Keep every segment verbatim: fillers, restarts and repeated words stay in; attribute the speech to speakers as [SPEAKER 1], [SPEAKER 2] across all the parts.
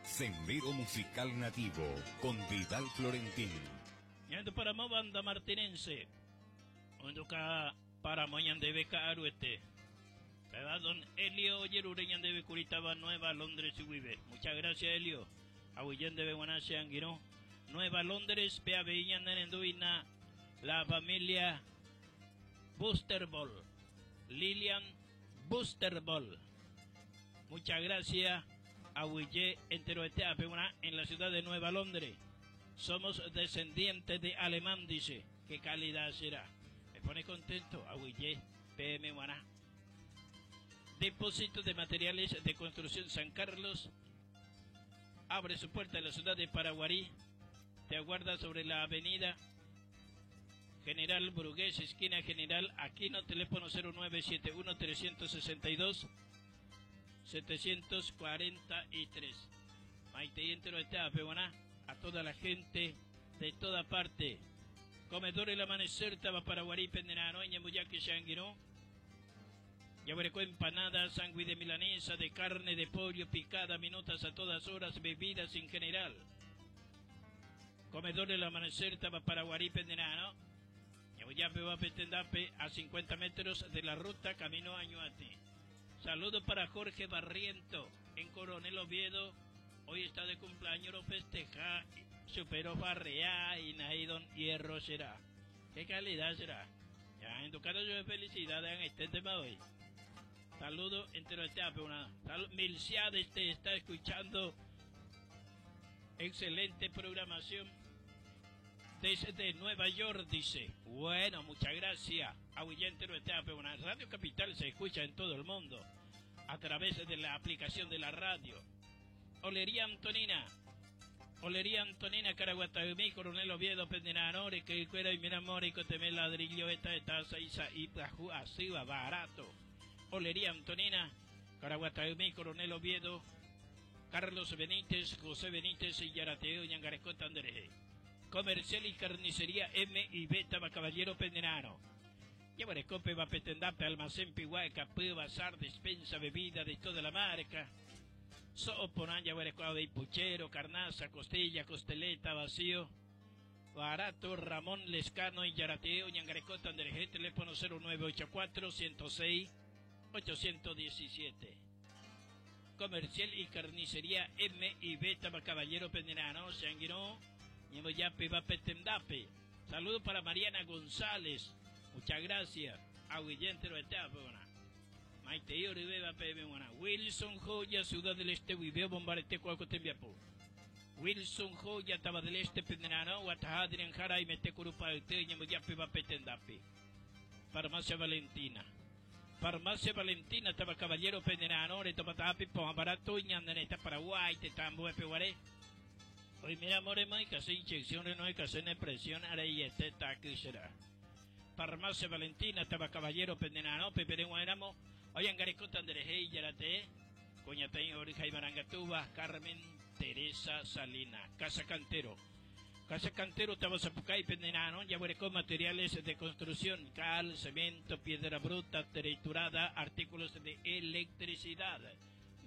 [SPEAKER 1] Sendero Musical Nativo con Vidal Florentín.
[SPEAKER 2] Ñahendu paramo banda martinense. Ohenduka paramo ñandéve ka'aruete. Péva don Elio ojerure ñandéve kuri táva Nueva Londres guive. Muchas gracias, Elio. Aguyje ndéve g̃uarã che angirũ. Nueva Londres pe avei ñanerenduhína la familia Boosterball. Lilian Boosterball. Muchas gracias. Aguyje enteroite en la ciudad de Nueva Londres. Somos descendientes de alemán, dice. ¿Qué calidad será? Me pone contento. Aguyje peẽme g̃uarã. Depósito de materiales de construcción San Carlos abre su puerta en la ciudad de Paraguarí. Te aguarda sobre la avenida General Brugués, esquina General Aquino, teléfono cero nueve siete uno trescientos sesenta y dos setecientos cuarenta y tres. Maitei entero a toda la gente de toda parte. Comedor El Amanecer, táva Paraguarí, Penderano, Ñambuyaki, Shanguiró. Yaguareco empanada, sándwich de milanesa, de carne, de pollo, picada, minutas a todas horas, bebidas en general. Comedor El Amanecer, táva Paraguarí, Penderano. Ñambuyape, Tendape, a cincuenta metros de la ruta Camino a Ñuati. Saludo para Jorge Barriento en Coronel Oviedo. Hoy está de cumpleaños, lo festeja. Supero Farrea y Naidon Hierro será. ¿Qué calidad será? Ya, en tu caso yo de felicidad en este tema hoy. Saludo entero este una. Milciades te está escuchando. Excelente programación. Desde Nueva York, dice. Bueno, muchas gracias. Aguyje entero este una. Radio Capital se escucha en todo el mundo a través de la aplicación de la radio. Olería Antonina. Olería Antonina Caraguatagmi, Coronel Oviedo, Pendenanore, que cuera y mira y coteme ladrillo, esta esta isa y así va barato. Olería Antonina, Caraguatagmi, Coronel Oviedo, Carlos Benítez, José Benítez y Yarateo Ñangarecota Andrés. Comercial y carnicería M y B Caballero Pendenano. Llevaré va petendape, almacén pihuaca, bazar, despensa, bebida de toda la marca. So'o porã de puchero, carnaza, costilla, costeleta, vacío. Barato, Ramón Lescano y Yarateo, Ñangarecota, Andrés, teléfono cero nueve ocho cuatro ciento seis ochocientos diecisiete. Comercial y carnicería M y B Caballero Penderano, Sanguiró, Ñemoyape, Vapetendape. Saludo para Mariana González. Muchas gracias. Aguyje entero Maite Wilson Joya, Ciudad del Este, Viveo, Bombarete, Cuaco, Tembiapo. Wilson Joya, Taba del Este, Penderano, Guatajadrian, Jara y Metecurupa, Ñemoyape, Vapetendape. Farmacia Valentina. Farmacia Valentina, Taba Caballero, Penderano, Retopatapi, Barato, Ñandaneta, Paraguay, Tetambo, Epeguaré. Hoy mira, more, no hay que hacer inyección, no hay que hacer presión, ahora y este será. Farmacia Valentina, Taba Caballero, Penderano, Pepe Éramos. Oye, Garecota Andrés Yarate, Coñatay Orija y Marangatuba, Carmen Teresa Salina, Casa Cantero. Casa Cantero, Tabazapucay, Pendenano, Yaburecó, materiales de construcción, cal, cemento, piedra bruta, triturada, artículos de electricidad.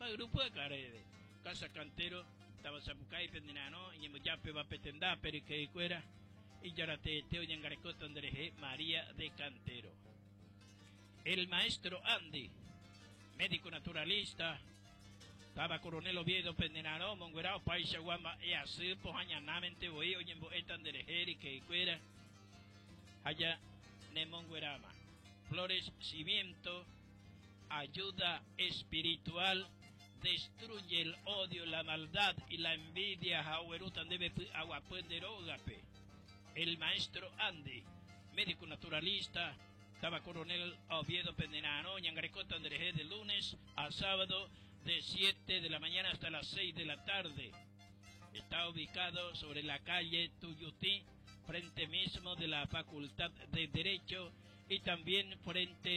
[SPEAKER 2] Va grupo de Carede. Casa Cantero, Tabazapucay, Pendenano, Ñemoyape, Bapetendá, Periquecuera, y Yarate, Teo, Yangarecota, Andrés María de Cantero. El maestro Andy, médico naturalista, táva Coronel Oviedo, Pendenaro, Monguerao, Paisa, Guamba, e así, pojañanamente, voy, oyembo, etanderejeri, que cuera, allá, Nemonguerama. Flores, cimiento, ayuda espiritual, destruye el odio, la maldad y la envidia, jauerutan debe agua rógape. El maestro Andy, médico naturalista, táva Coronel Oviedo Pendenano, Ñangarecota Andrés de lunes a sábado de siete de la mañana hasta las seis de la tarde. Está ubicado sobre la calle Tuyutí, frente mismo de la Facultad de Derecho y también frente